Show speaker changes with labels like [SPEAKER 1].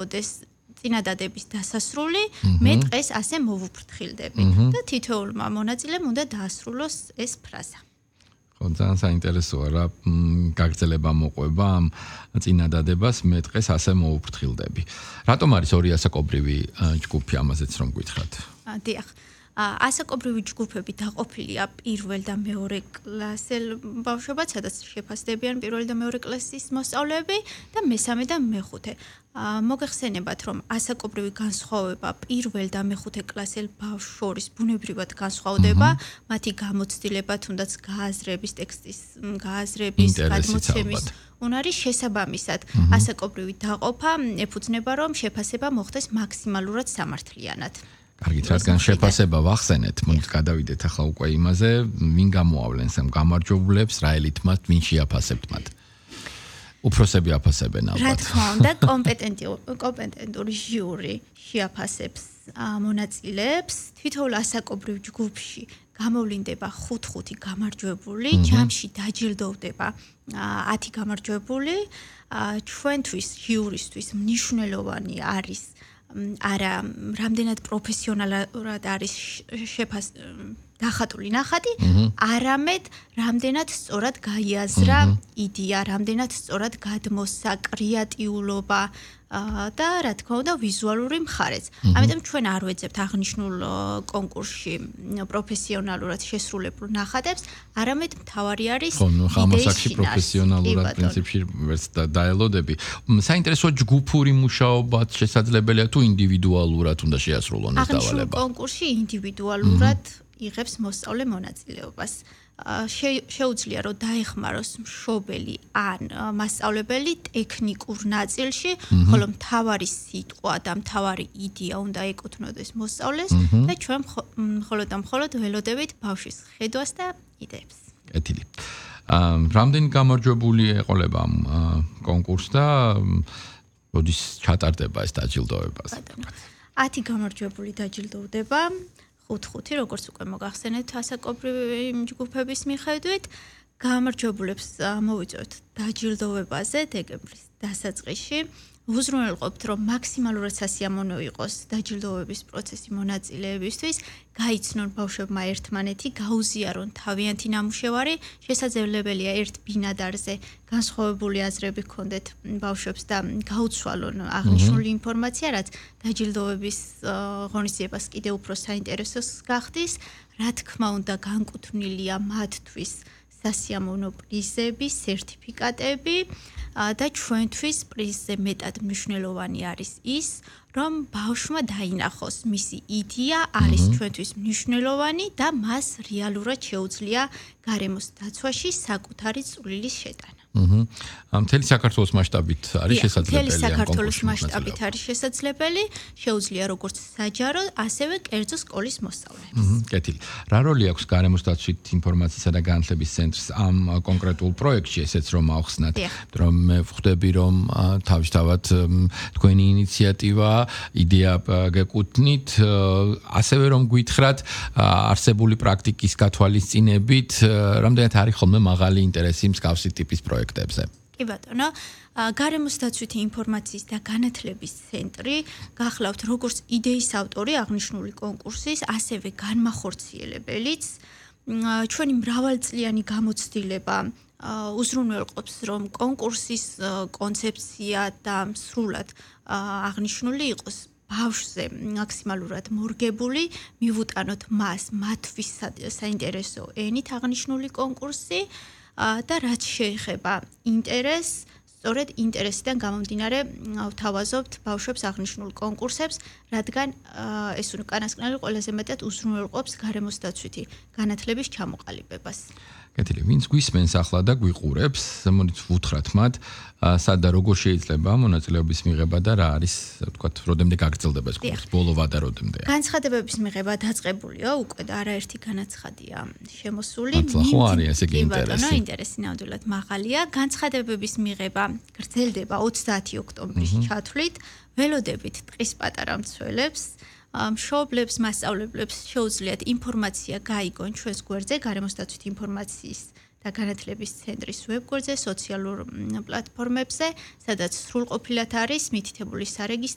[SPEAKER 1] იყოს წინადადების დასასრული, მე დღეს ასე მოვუფრთხილდები და თითოეულმა მონაწილემ უნდა დაასრულოს ეს ფრაზა.
[SPEAKER 2] ძალიან საინტერესოა რა გაგრძელება მოყვება ამ წინადადებას მე დღეს ასე მოვუფრთხილდები. რატომ არის ორი ასაკობრივი ჯგუფი ამაზეც რომ გითხრათ?
[SPEAKER 1] დიახ. ასაკობრივი ჯგუფები დაყოფილია პირველ და მეორე კლასელ ბავშვებად, სადაც შეფასდებიან პირველი და მეორე კლასის მოსწავლეები და მესამე და მეხუთე. მოგეხსენებათ, რომ ასაკობრივი განსხვავება პირველ და მეხუთე კლასელ ბავშვს შორის ბუნებრივად განსხვავდება, მათი გამოცდილება, თუნდაც გააზრების, ტექსტის გააზრების, გადმოცემის უნარის შესაბამისად. ასაკობრივი დაყოფა ეფუძნება, რომ შეფასება მოხდეს მაქსიმალურად სამართლიანად.
[SPEAKER 2] კარგით, რადგან შეფასება ვახსენეთ, მოდით გადავიდეთ ახლა უკვე იმაზე, ვინ გამოავლენს ამ გამარჯვებულებს, რა ელით მათ, ვინ შეაფასებთ მათ. უფროსები აფასებენ ალბათ.
[SPEAKER 1] რა თქმა უნდა, კომპეტენტური ჟიური შეაფასებს მონაწილეებს, თითოეულ ასაკობრივ ჯგუფში გამოვლინდება 5 გამარჯვებული, ჯამში დაჯილდოვდება 10 გამარჯვებული. ჩვენთვის ჟიურისთვის მნიშვნელოვანი არის არა რამდენად პროფესიონალურად არის დახატული ნახატი, არამედ რამდენად სწორად გაიაზრა იდეა, რამდენად სწორად გადმოსცა კრეატიულობა და რა თქმა უნდა ვიზუალური მხარეც. ამიტომ ჩვენ არ ვეძებთ აღნიშნულ კონკურსში პროფესიონალურად შესრულებულ ნახატებს, არამედ მთავარი არის
[SPEAKER 2] ხამასაკში პროფესიონალურად პრინციპში ვერც დაელოდები. საინტერესოა ჯგუფური მუშაობაც შესაძლებელია თუ ინდივიდუალურად უნდა შეასრულონ ეს დავალება.
[SPEAKER 1] აღნიშნულ კონკურსში ინდივიდუალურად იღებს მოსწავლე მონაწილეობას. შეუძლია რომ დაეხმაროს მშობელი ან მასწავლებელი ტექნიკურ ნაწილში, ხოლო მთავარი სიტყვა და მთავარი იდეა უნდა ეკუთვნოდეს მოსწავლეს და ჩვენ მხოლოდ და მხოლოდ ველოდებით ბავშვის ხედვას და იდეებს.
[SPEAKER 2] კეთილი. რამდენი გამარჯვებული ეყოლება ამ კონკურსს და როდის ჩატარდება ეს დაჯილდოება?
[SPEAKER 1] 10 გამარჯვებული დაჯილდოვდება. 5 როგორც უკვე მოგახსენეთ ასაკობრივი ჯგუფების მიხედვით გამარჯვებულებს მოვიწევთ დაჯილდოვებაზე დეკემბრის დასაწყისში. უზრუნველყოფთ, რომ მაქსიმალურად სასიამოვნო იყოს დაჯილდოვების პროცესი მონაწილეებისთვის, გაიცნონ ბავშვებმა ერთმანეთი, გაუზიარონ თავიანთი ნამუშევარი, შესაძლებელია ერთ ბინადარზე განსხვავებული აზრები ჰქონდეთ ბავშვებს და გაუცვალონ აღნიშნული ინფორმაცია, რაც დაჯილდოვების ღონისძიებას კიდევ უფრო საინტერესოს გახდის. რა თქმა უნდა, განკუთვნილია მათთვის სასიამოვნო პრიზები, სერტიფიკატები და ჩვენთვის პრიზზე მეტად მნიშვნელოვანი არის ის, რომ ბავშვმა დაინახოს მისი იდეა არის ჩვენთვის მნიშვნელოვანი და მას რეალურად შეუძლია გარემოს დაცვაში საკუთარი წვლილის შეტანა.
[SPEAKER 2] მთელი საქართველოს მასშტაბით არის შესაძლებელი.
[SPEAKER 1] მთელი საქართველოს მასშტაბით არის შესაძლებელი, შეუძლია როგორც საჯარო, ასევე კერძო სკოლის მოსწავლეებს.
[SPEAKER 2] კეთილი. რა როლი აქვს გარემოს დაცვით ინფორმაციისა და განათლების ცენტრს ამ კონკრეტულ პროექტში, ესეც რომ ავხსნათ, რომ მე ვხვდები, რომ თავისთავად თქვენი ინიციატივა, იდეა გეკუთვნით, ასევე რომ გითხრათ, არსებული პრაქტიკის გათვალისწინებით, რამდენად არის ხოლმე მაღალი ინტერესი მსგავსი ტიპის პროექტებზე.
[SPEAKER 1] კი ბატონო, გარემოს დაცვითი ინფორმაციის და განათლების ცენტრი გახლავთ როგორც იდეის ავტორი აღნიშნული კონკურსის, ასევე განმახორციელებელიც. ჩვენი მრავალწლიანი გამოცდილება უზრუნველყოფს, რომ კონკურსის კონცეფცია და სრულად აღნიშნული იყოს ბავშვზე მაქსიმალურად მორგებული, მივუტანოთ მას მათთვის საინტერესო ენით აღნიშნული კონკურსი და რაც შეეხება ინტერესს, სწორედ ინტერესიდან გამომდინარე ვთავაზობთ ბავშვებს აღნიშნულ კონკურსებს, რადგან ეს უკანასკნელი ყველაზე მეტად უზრუნველყოფს გარემოს დაცვითი განათლების ჩამოყალიბებას.
[SPEAKER 2] კეთილი, ვინც გვისმენს ახლა და გვიყურებს, მოდით ვუთხრათ მათ, სად და როგორ შეიძლება მონაწილეობის მიღება და რა არის, ვთქვათ, როდემდე გაგრძელდება ეს კურსი, ბოლო ვადა როდემდეა?
[SPEAKER 1] განცხადებების მიღება დაწყებულია უკვე და არაერთი განაცხადია შემოსული.
[SPEAKER 2] ხო არის ესე იგი ინტერესი.
[SPEAKER 1] ინტერესი ნამდვილად მაღალია. განცხადებების მიღება გრძელდება 30 ოქტომბრის ჩათვლით. ველოდებით ტყის პატარა მცველებს, მშობლებს, მასწავლებლებს შეუძლიათ ინფორმაცია გაიგონ ჩვენს გვერდზე, გარემოს დაცვითი ინფორმაციის და განათლების ცენტრის ვებგვერდზე, სოციალურ პლატფორმებზე, სადაც სრულყოფილად არის მითითებული სარეგისტრო